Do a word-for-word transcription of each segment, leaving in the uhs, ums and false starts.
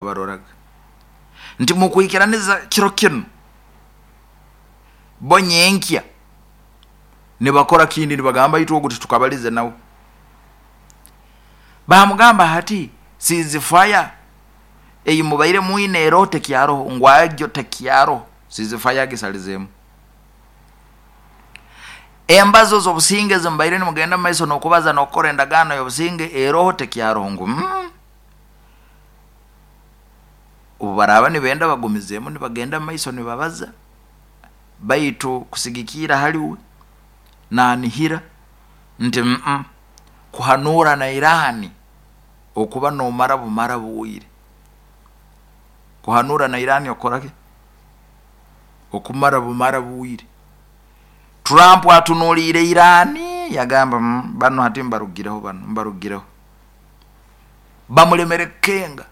Baroraga nti mukwikiraniza kiro kinu bo nyenkya nibakora kindi, nibagamba itwe ogu titukabalize nawe. Bamugamba hati ceasefire eyi mubaire mwine eroho tekyaroho? Ngu agyo tekyaroho, ceasefire agisalizeemu. Embazo z'obusinge ezimubaire nimugenda mumaiso n'okubaza n'okukora endagaano y'obusinge eroho tekyaroho? Ngu mm. Obu baraaba nibenda bagumizeemu nibagenda mumaiso nibabaza, baitu kusigikiira haliwe nanihira nti mm kuhanuura na Irani okuba nomara bumara bwire, kuhanuura na Irani okukoraki okumara bumara bwire. Trump atunuliire Irani yagamba mm, banu hati mbarugireho, banu mbarugireho, bamulemere kukenga.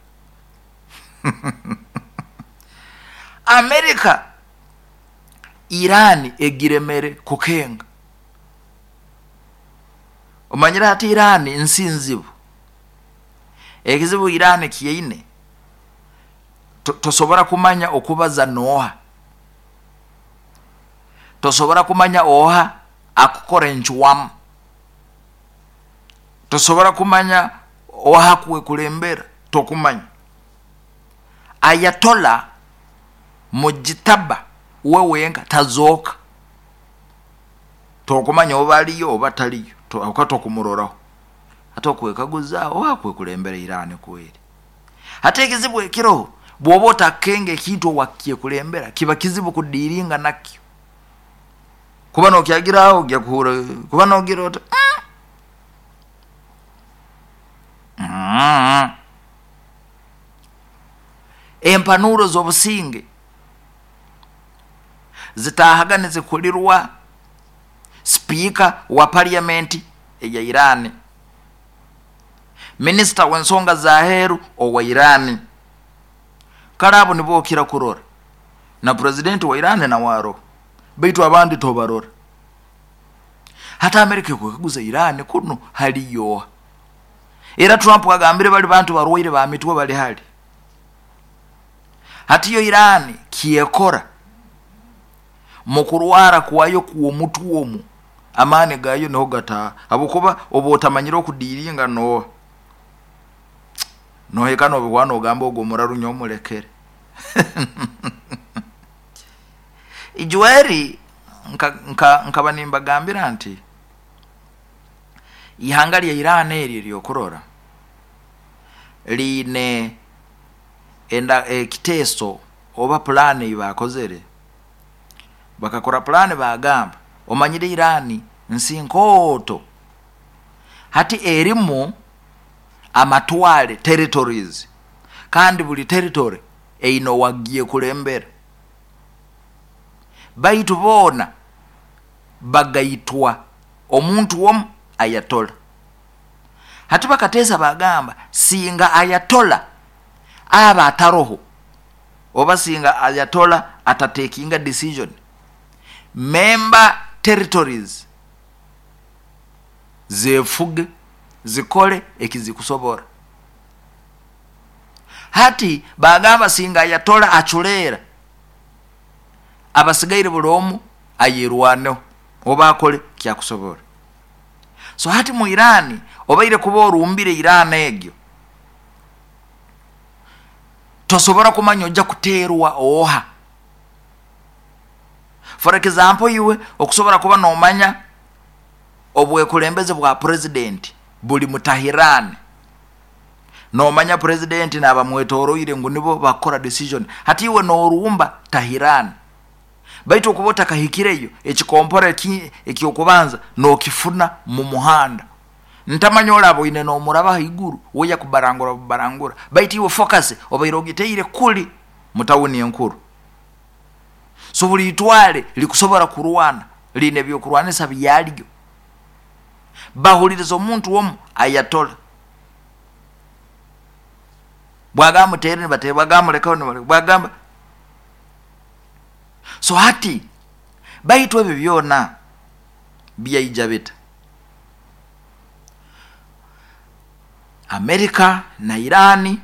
Amerika Irani egiremere kukenga. Omanyire hati Irani nsi nzibu, ekizibu Irani kiine tosobora kumanya okubaza nooha, tosobora kumanya oha akukora encwamu, tosobora kumanya oha akwekulembera, tokumanya. Ayatola Mujitaba we wenka tazooka, tokumanya oba aliyo oba taliyo, oka tokumuroraho. Hati okwekaguza oha akwekulembera Irani kweri. Hati ekizibu ekiroho, bwoba otakukenga ekintu owakyekulembera kiba kizibu kudiiringa nakyo, kuba nokyagiraho ojja kuhura kuba nogira oti mm. Mm. Empanuro z'obusinge zitahaga nizikulirwa sipiika wa parliament eya Irani, minisita w'ensonga z'aheeru owa Irani, kale abo nibo okira kurora, na purezidenti wa Irani nawe aroho, baitu abandi tobarora. Hati Amerika ekwekaguza Irani kunu haliyo oha? Era Trump agambire bali bantu barwaire ba mitwe bali hali. Hati yo Irani kyekora mukurwara kwayo kw'omutwe omu amaani gayo niho gataha, habwokuba oba otamanyire okudiiringa nooha, nohika nobihwa nogamba ogu omuraru nyowe mulekere. Ijweri nkaba nimbagambira nti ihanga lya Irani eri eryokurora liine ekiteeso oba pulaani ei baakozere. Bakakora pulaani bagamba omanyire Irani nsi nkooto, hati erimu amatware territories, kandi buli territory eine owagyekulembera, baitu boona bagaitwa omuntu omu ayatola. Hati bakateesa bagamba singa ayatola aba ataroho, oba singa ayatola atatekinga decision, member territories zefuge zikole ekizikusobora. Hati bagamba singa ayatola aculeera, abasigaire buli omu ayerwaneho oba akole kyakusobora. So hati mu Irani obaire kuba orumbire Irani egyo, tosobora kumanya ojja kuteerwa oha. For example, iwe okusobora kuba nomanya obwekulembeze bwa purezidenti buli mu Tahirani, nomanya purezidenti n'abamwetoroire ngu nibo bakukora decision. Hati iwe norumba Tahirani, baitu okuba otakahikireyo ekikompora ekyokubanza nokifuna mu muhanda, ntamanya oraba oine nomuraba haiguru we yakubarangura bubarangura, baitu iwe focus obaire ogiteire kuli mu tawuni enkuru. So buli itwale likusobora kurwana liine ebyokurwanisa byalyo, bahuliriza omuntu omu ayatola. Bwagamba mutere nibatera, bwagamba mulekaho nibaleka, bwagamba. So hati baitu ebyo byona byaija bita? Amerika na Irani